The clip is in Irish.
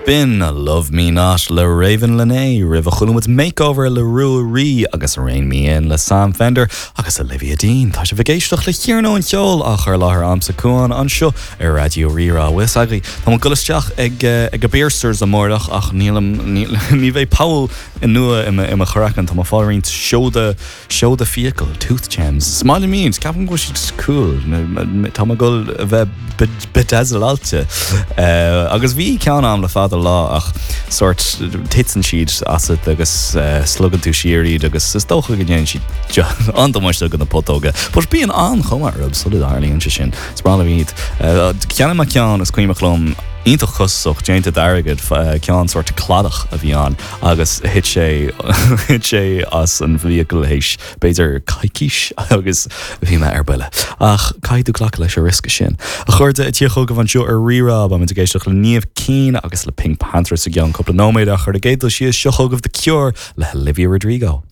B'in Love Me Not le Ravyn Lenae, roimhe chuala muid Makeover le Ruaidhrí agus Rein Me In le Sam Fender agus Olivia Dean. Tá sibh ag éisteacht le Iarnóin Cheoil á chur i láthair a'msa Cuán anseo ar Raidió Rí-Rá. Bhfuil fhios agaibh, tá mé ag dul isteach ag ag an bpiercers amárach ach nílim, ní bheidh poll nua i mo chraiceann. Tá mé ag fáil roinnt seoda Seoda fiacal, tooth gems. Is maith liom iad, ceapaim go bhfuil siad cool. Tá mé ag dul a bheith bedazzleáilte. Agus bhí ceann a'm le fada lá ach sórt titeann siad asat agus slogann tú siar iad agus is dócha go ndéanann siad an-damáiste do na putóga. But bíonn an-chuma orthu sula dtarlaíonn sé sin. Is breá liom iad. Cheannaigh mé ceann is cuimhneach liom iontach costasach, déanta d'airgead, ceann sórt cladach a bhí ann. agus thit sé thit sé as an bhfiacail théis b'fhéidir coicís agus bhí mé ar buile. Ach caithfidh tú glacadh leis an riosca sin. A chairde, ag tíocht chugaibh anseo ar Rí-Rá, beimid ag éisteacht le Niamh Keane agus le PinkPantheress i gceann cúpla nóiméad ach ar an gcéad dul síos, seo chugaibh The Cure le Olivia Rodrigo.